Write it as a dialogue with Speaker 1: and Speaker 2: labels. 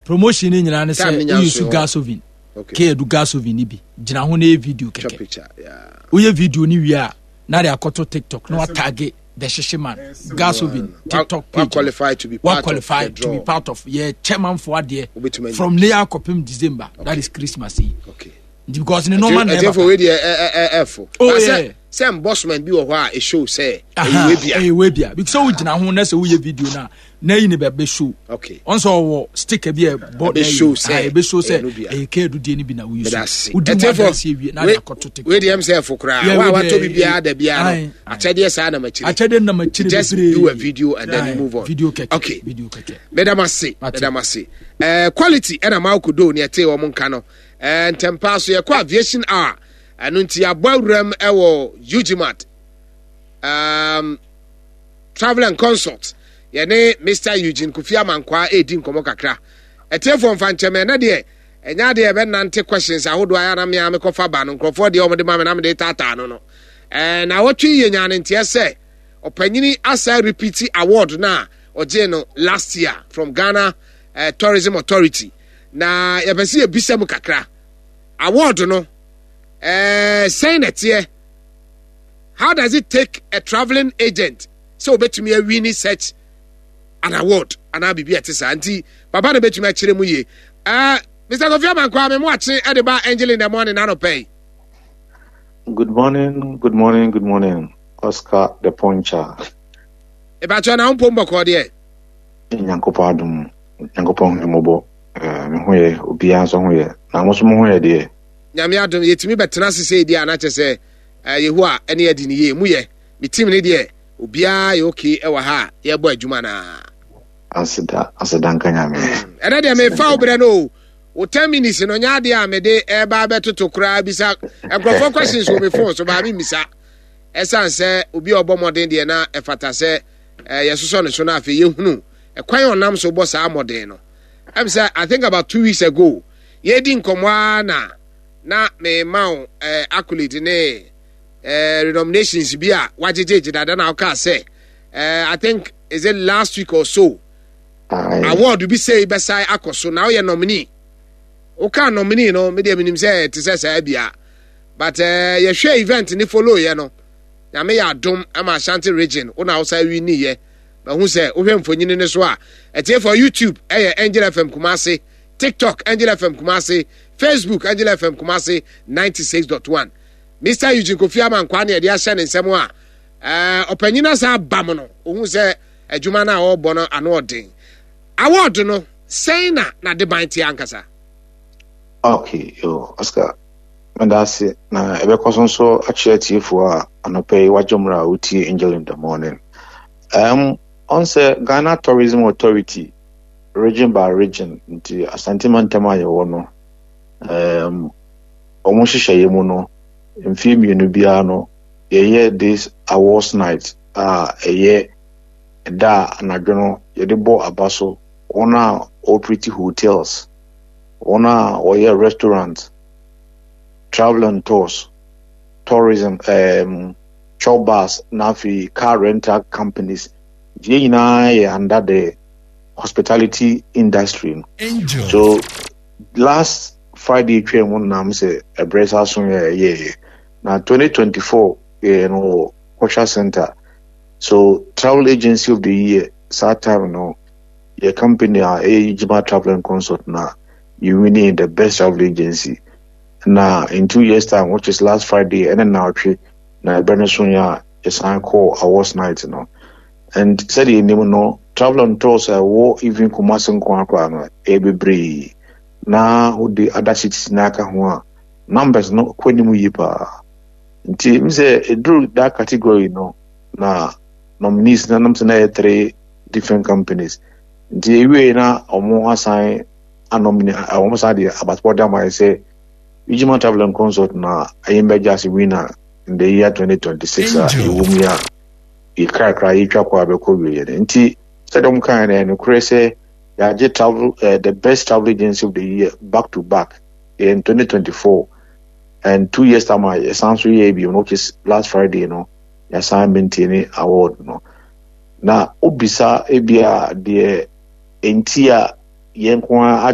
Speaker 1: Promotion ne nyinaa ne sɛ woyi su gas oven. Okay. Kedu gas oven ni bi. Gyina ho na yɛ video kɛkɛ. Woyɛ video ni wie a na de akɔto TikTok na watage the Hyehye Man gas oven TikTok page.
Speaker 2: Qualify to be part
Speaker 1: qualify
Speaker 2: of
Speaker 1: to be part of yɛ chairman for adeɛ from ne akɔpem December. Okay. That is Christmas yi.
Speaker 2: Okay.
Speaker 1: Nti because ne nɔɔma na ɛba.
Speaker 2: Ɛtiɛfo wei deɛ ɛ ɛ ɛfo.
Speaker 1: Oh yeah.
Speaker 2: Sɛ embossment bi wɔ hɔ a ɛshow sɛ ɛyɛ wei bia.
Speaker 1: Ɛyɛ wei bia because sɛ wogyina ho na sɛ woyɛ video na na yi ne bɛ bɛ show.
Speaker 2: Okay.
Speaker 1: Ɔn sɛ ɔwɔ sticker bi a ɛbɔ na yi ɛbɛ show sɛ ɛyɛ kɛɛdu deɛ ne bi na woyi so. Wodi mu adansi ewie na de akɔto TikTok.
Speaker 2: Wei deɛ sɛ ɛfo koraa. Wa watɔ bi biara da biara no. Akyɛdeɛ saa na makyire.
Speaker 1: Akyɛdeɛ na makyire bebree.
Speaker 2: Just do a video and then you move on.
Speaker 1: Video kɛkɛ.
Speaker 2: Okay.
Speaker 1: Video kɛkɛ.
Speaker 2: Mɛdamase. Mɛdamase. Ɛɛ quality ɛna maa kodo ne ɛte wɔn nka no. Ɛɛ ntɛmpa so yɛkɔ aviation hour. Ɛno nti yɛabɔ awuram wɔ Ugimat um, Travel and Consult. Yɛne Mr. Eugene Kofi Amankwaa ɛredi nkɔmmɔ kakra. Ɛtiefoɔ mfa nkyɛm ɛnɛ deɛ ɛnyɛ adeɛ yɛbɛnante questions ahodoɔ ayɛ na mea mekɔfa ba no nkurɔfoɔ deɛ wɔde ma me na mede taataa no no. Ɛɛ na wɔtwe yɛ nyaa ne nteɛ sɛ ɔpanyini asa repeat award no a ɔgyee no last year from Ghana uh, Tourism Authority. Na yɛpɛ sɛ yɛbisa mu kakra. Award no ɛɛ sɛn na ɛteɛ how does it take a travelling agent sɛ obetumi awini such an award anaa biribi a ɛte saa nti papa na betumi akyerɛ mu yie ɛɛ Mr. Kofi Amankwa me mo akye ɛde ba Angel in the morning anɔpɛ yi.
Speaker 3: Good morning, good morning, good morning, Oscar the Puncher.
Speaker 2: Ìbàkyɛ na mpom bɔkɔ deɛ.
Speaker 3: Nyankopɔn adum, Nyankopɔn hu mɔbɔ, eh, me ho yɛ, obiara nso ho yɛ, na mo nso mo ho yɛ deɛ.
Speaker 2: Nyame adom yɛtumi bɛtena ase sei deɛ a na kyɛ sɛ eh, Yehowa ɛne adi ne yie mu yɛ me team ne deɛ obiara yɛ okay ɛwɔ ha a yɛbɔ adwuma naa.
Speaker 3: Aseda aseda nka Nyame.
Speaker 2: Ɛnɛ deɛ mefa wo berɛ no o wo 10 minutes no nyɛ adeɛ a mede ɛba bɛtoto koraa bisa nkurɔfoɔ questions wɔ me phone so baa memmisa ɛsiane sɛ obi a ɔbɔ mmɔden deɛ na ɛfata sɛ eh, yɛsosɔ ne so no afei yɛhunu ɛkwan a ɔnam so bɔ saa mmɔden no ɛm sɛ I think about 2 weeks ago Yɛredi nkɔmmɔ ara na na mema wo eh, accolade ne eh, renominations bi a wagyegyegye dada na wokaa sɛ eh, I think is it last week or so award bi sei bɛsae akɔ so na woyɛ nominee. Wokaa nominee no medeɛ menim sɛ te sɛ saa bia but eh, yɛhwɛ event ne follow yɛ no nyame yɛ adom ama Ashanti region wo na wosa winiyɛ mahu sɛ wohwɛ mfonyini no so a ɛtie for YouTube ɛyɛ Angel FM Kumase TikTok, Angel FM Kumasi, Facebook, Angel FM Kumasi 96.1. Mr. Eugene Kofi Amankwaa ne ɛde ahyɛ ne nsɛm a eh, ɔpanyin asa abam no, ohun sɛ adwuma no a ɔrebɔ no ano ɔden. Award no, sɛn na n'adeban te ankasa?
Speaker 3: Okay, yo, Oscar, meda ase na ɛbɛkɔ so nso akyerɛ atiefoɔ a anɔpa yi wagye mmerɛ a wotie Angel in the Morning. Ɔn sɛ Ghana Tourism Authority region by region nti Asante mantam a yɛwɔ no um, wɔn nhyehyɛeɛ mu no mfeɛ 2 biara no yɛyɛ this awards night a ɛyɛ ɛda a anadwo no yɛde bɔ aba so wɔn a wɔoperate hotels, wɔn a wɔyɛ restaurant, travel and tours, tourism, chop bars na afei car rental companies. Nti yɛn nyinaa yɛ under the hospitality industry no. So last Friday twaa mu nam sɛ ɛbrɛ saa so yɛ ɛyɛɛyɛ na 2024 yɛyɛ no wɔ Cultural Center. So travel agency of the year saa time no yɛ company a ɛyɛ Ijima Travel and Consult na yɛ winning the best travel agency. Na in 2 years time, which is last Friday, ɛne naawɔtwe na ɛbrɛ no so yɛ a yɛsan kɔɔ awards night no. And sɛdeɛ yɛnim no, travel and tours a ɛwɔ even Kumasi nko ara koraa no, ɛyɛ bebree. Na wode other cities no aka ho a, numbers no kɔ anim yie paa. Nti m sɛ ɛduru that category no, na nominees no nam sɛ na ɛyɛ three different companies. Nti ewie na wɔn asan anomine, wɔn san de abatobɔ de ama yɛ sɛ Ijima Travel and Consult na ɛyɛ mbɛgye ase winner in the year 2026 a ɛwɔ mu yi a yɛkrakra yɛtwa kɔ a bɛkɔ wieɛ no. Nti sɛdeɛ wɔn kaeɛ no, ɛyɛ nokorɛ sɛ yɛagye travel the best travel agency of the year back to back in 2024 and 2 years time a yɛsan so yɛɛ bio no, which is last Friday no, yɛsan maintain award no. Na obisa ebia deɛ nti a yɛn nko ara